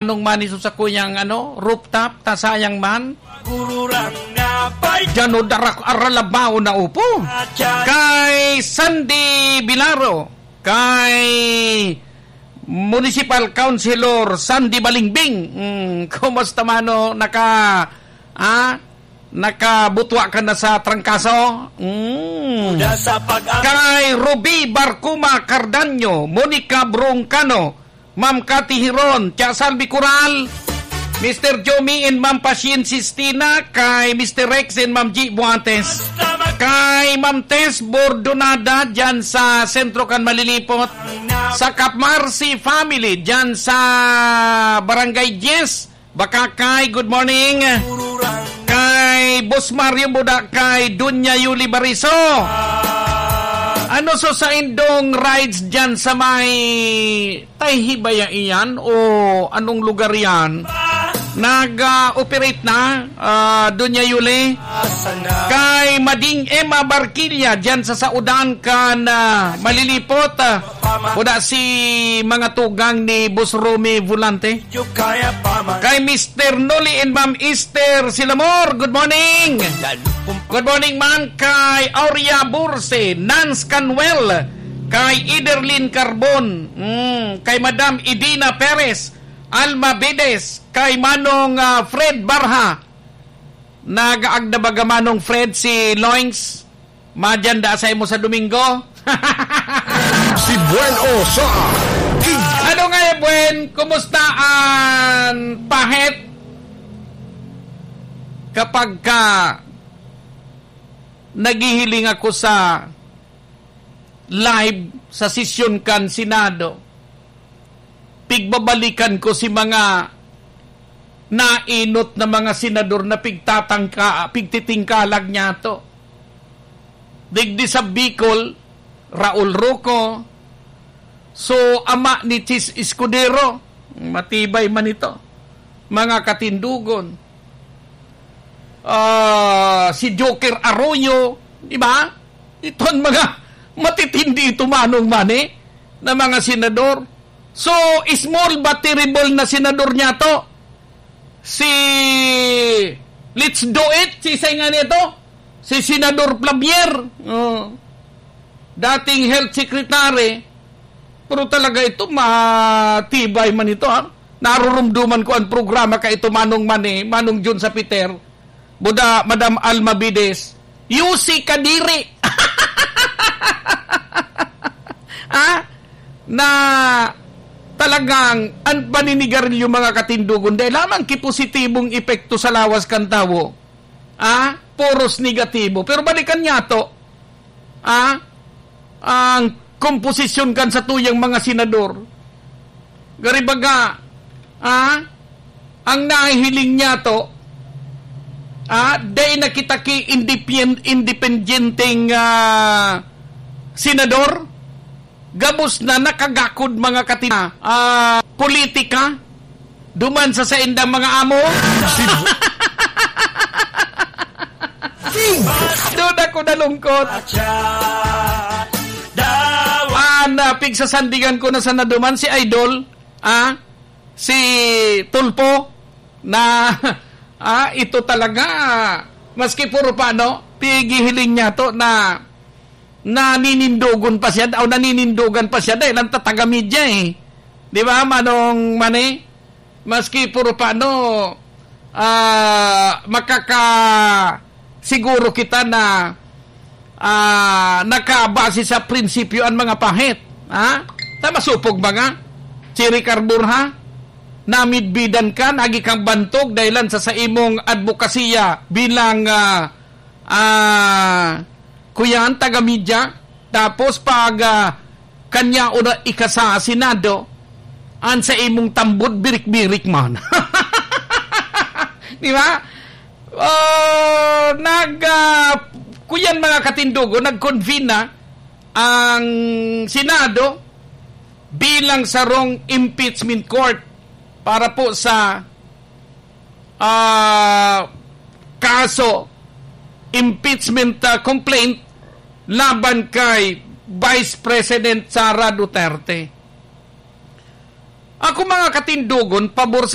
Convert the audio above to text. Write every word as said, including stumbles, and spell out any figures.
Nung man iso sa kuyang, ano, rooftop, ta sayang man. Gururang na pay- Diyan o darak aralabaw na upo. Kay Sandy Bilaro, kay Municipal Councilor Sandy Balingbing. Mm, kumusta mano? Naka, ah, nakabutwa ka na sa trangkaso? Mm. Uda sa pag- Kay Ruby Barcuma Cardanyo, Monica Broncano, Ma'am Cathy Hiron, Tia Salvi Coral, Mister Jomi and Ma'am Pasyente Sistina, kay Mister Rex and Ma'am G Buantes, kay Ma'am Tess Bordonada dyan sa sentro kan Malilipot, sa Cap Marcy family dyan sa Barangay Diez, Bacacay, good morning. Kay Boss Mario Buda, kay Dunya Yuli Bariso. Ano so sa indong rides dyan sa may Tayhibaya iyan o anong lugar yan? Nag-operate na, ah, Dunya Yuli. Kay Mading Emma Barquilla dyan sa Saudan kan, ah, Malilipot. Ah, Buda si mga tugang ni Boss Romy Volante. Kay Mister Noli and Ma'am Esther Silamor, good morning. Good morning man kay Aurea Burse, Nance Canwell, kay Iderlin Carbon, mm, kay Madam Idina Perez, Alma Vides, kay Manong, ah, Fred Barha. Nagaagda baga Manong Fred si Loings? Madyan da sa imo sa Domingo? Si Buen o sa Gig- Ano nga, eh, Buen? Kumusta ang pahit? Kapag ka naghihiling ako sa live sa sesyon kan Senado, pigbabalikan ko si mga nainot na mga senador na pigtatangka-, pigtitingkalag niyato. Digdi sa Bicol, Raul Roco, so ama ni Chiz Escudero, matibay man ito, mga katindogon. Ah, si Joker Arroyo, di ba? Iton mga matitindi ito, Manong Manny, na mga senador. So, small but terrible na senador niyato. Si, let's do it, si isay nga nito, si Senador Flavier. Oh. Dating health secretary, pero talaga ito, matibay man ito, ha? Narurumduman ko ang programa ka ito, Manong Manny, Manong Jun sa Peter. Buda, Madam Alma Bides, yusi kadiri. Ah? Na talagang ang paninigarilyo, mga katindogon, dai lamang ki positibong epekto sa lawas kan tawo. Ah? Puros negatibo. Pero balikan niyato, ah, ang komposisyon kan satuyang mga senador. Gari baga, ah, ang nahihiling niyato, ah, dai na kita ki independ-, independenteng, ah, senador. Gabos na nakagakod, mga katina, ah, politika. Duman sa saindang mga amo. Doon ako nalungkot. Ah, napigsasandigan ko na sana duman si Idol, ah, si Tulfo, na, ah, ito talaga, maski puro pa, no, pighihiling niyato na naninindogon pa siya, o naninindogan pa siya dahil ang tataga media, eh. Di ba, Manong Manny? Maski puro pa, no, ah, makaka-, siguro kita na, ah, nakabase sa prinsipyo ang mga pahit, ha? Ta masupog ba nga? Chiri Carbur, ha? Namidbidan ka, nagi kang bantog dahilan sa, sa imong adbokasiya bilang, ah, ah, kuyan, taga-media. Tapos pag, ah, kanya o na ikasa sa Senado, an sa imong tambod, birik-birik man. Di ba? Oh, nag, ah, kuyan, mga katindogon, nag-convene na ang Senado bilang sarong impeachment court para po sa ah, kaso, impeachment, ah, complaint laban kay Vice President Sara Duterte. Ako, mga katindogon, pabor sa